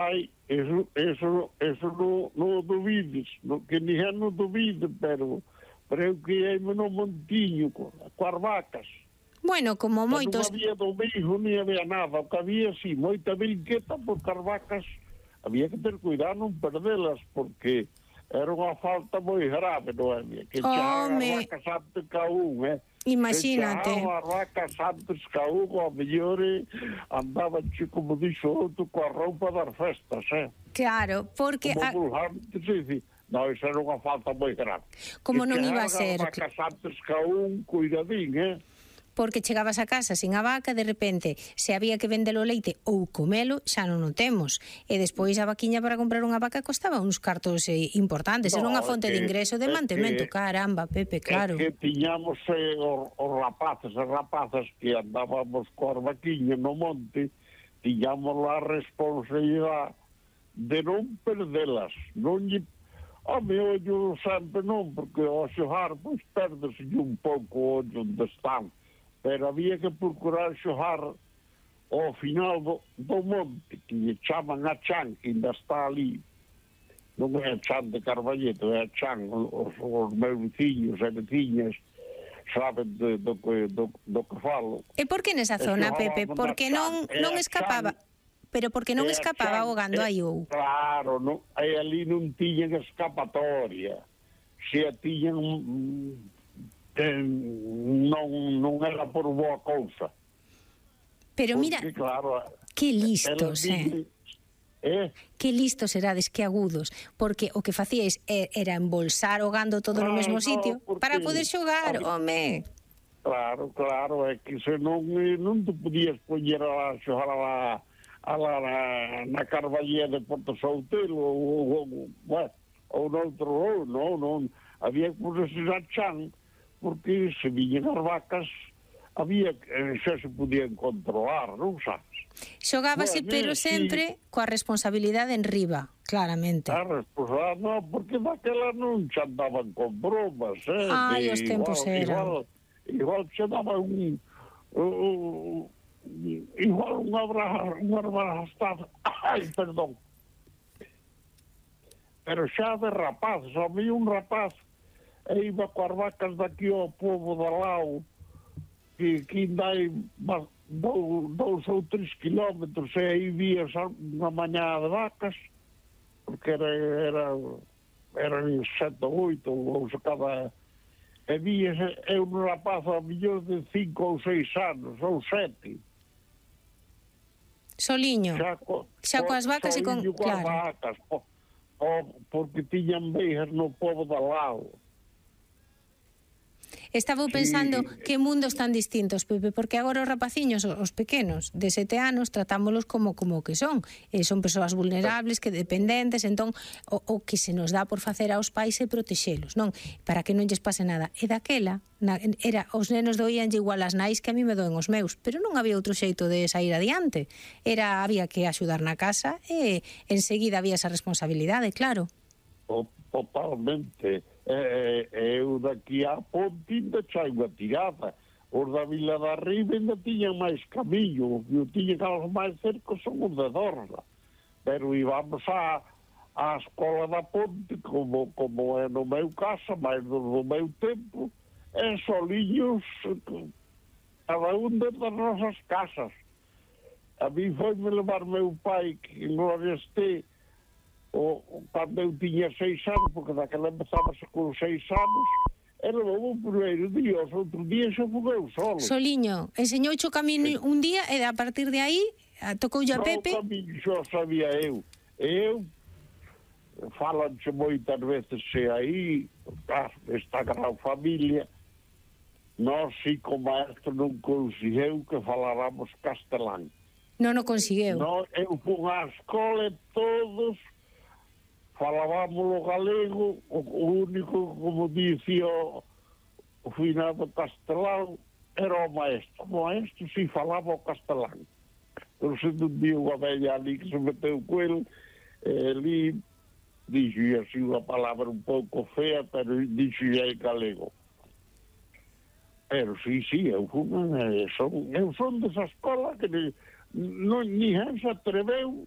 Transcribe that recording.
Ai, eso no dubides, que ninguén non duvide, pero eu criei-me no montiño, coas vacas. Bueno, como moitos... Non había domingo, ni había nada, o que había, sí, moita brinqueta, porque as vacas había que ter cuidado non perdelas, porque era unha falta moi grave, Noelia, que chaban as vacas antes que a un, Imagínate. Se chaban as vacas antes que a un, ao mellor andaban, como dixo outro, coa roupa das festas, Claro, porque... Como vulgarmente se dice, non, iso era unha falta moi grave. Como non iba a ser... As vacas antes que a un, cuidadín, Porque chegabas a casa sin a vaca, de repente, se había que vender o leite ou comelo, xa non o temos. E despois a vaquiña para comprar unha vaca costaba uns cartos importantes. Era unha fonte de ingreso de mantemento. Caramba, Pepe, claro. É que tiñamos os rapaces e rapazas que andábamos coas vaquiñas no monte, tiñamos a responsabilidade de non perdelas. Non lle... Home, ollo sempre non, porque ao xogar, pois, perdese un pouco o ollo onde están. Pero había que procurar xogar ao final do monte, que lle chaman a chan, que ainda está ali. Non é a chan de Carballeto, é a chan. Os meus veciños e veciñas saben do que falo. E por que nesa zona, Pepe? Porque non escapaba... Pero porque non escapaba o gando aí ou? Claro, ali non tiñan escapatoria. Se a tiñan... non era por boa cousa. Pero mira, porque, claro, que listos, que listos erades, que agudos, porque o que facíais era embolsar o gando todo no mesmo sitio para poder xogar, home. Claro, é que se non te podías poñer a xogar na Carballía de Porto Soutelo ou noutro, non, había que ponerse a chan, porque se viñen as vacas xa se podían controlar, non sabes? Xogábase, pero sempre coa responsabilidade en riba, claramente. A responsabilidade, non, porque daquela non xa andaban con bromas, Ai, os tempos eran. Igual xa daban igual unha abrastada, perdón. Pero xa de rapazes, había un rapaz e iba coas vacas daqui ao povo de Lao, que ainda hai 2 ou 3 kilómetros, e aí vías unha mañá de vacas, porque eran 7 ou 8, ou se cada... E vías, eu un rapaz a millón de 5 ou 6 anos, ou 7. Soliño, xa coas vacas e con... Claro. Vacas, porque tiñan veigas no povo de Lao. Estaba pensando que mundos tan distintos, Pepe, porque agora os rapaciños, os pequenos, de 7 anos, tratámolos como que son. Son persoas vulnerables, que dependentes, entón, o que se nos dá por facer aos pais é protexelos, non? Para que non lles pase nada. E daquela, os nenos doíanlle igual as nais que a mí me doen os meus, pero non había outro xeito de sair adiante. Había que axudar na casa e enseguida había esa responsabilidade, claro. Totalmente. Eu daqui a ponte ainda chai unha tirada. Os da Vila da Riba ainda tiñan máis camiño. O que tiñan aos máis cercos son os de Dorla. Pero íbamos á escola da ponte, como é no meu caso, máis do meu tempo, e soliños, cada un das nosas casas. A mí foi-me levar meu pai, que en gloria este, cando eu tiña 6 anos, porque daquela empezábase con 6 anos, e levou o primeiro día, os outros días xa fogueu solo. Soliño, enseñouche o camiño un día e a partir de aí tocoulle a Pepe? O camiño xa sabía eu. Falanche moitas veces aí, esta gran familia, nós, si como maestro, non conseguiu que faláramos castelán. Non o conseguiu. Eu fui á escola e todos falábamos o galego, o único, como dicía o finado castelán, era o maestro. O maestro si falaba o castelán. Pero se non dio unha bella ali que se meteu co ele, ali dixo así unha palabra un pouco fea, pero dixo en galego. Pero sí, eu son desa escola que ninguén se atreveu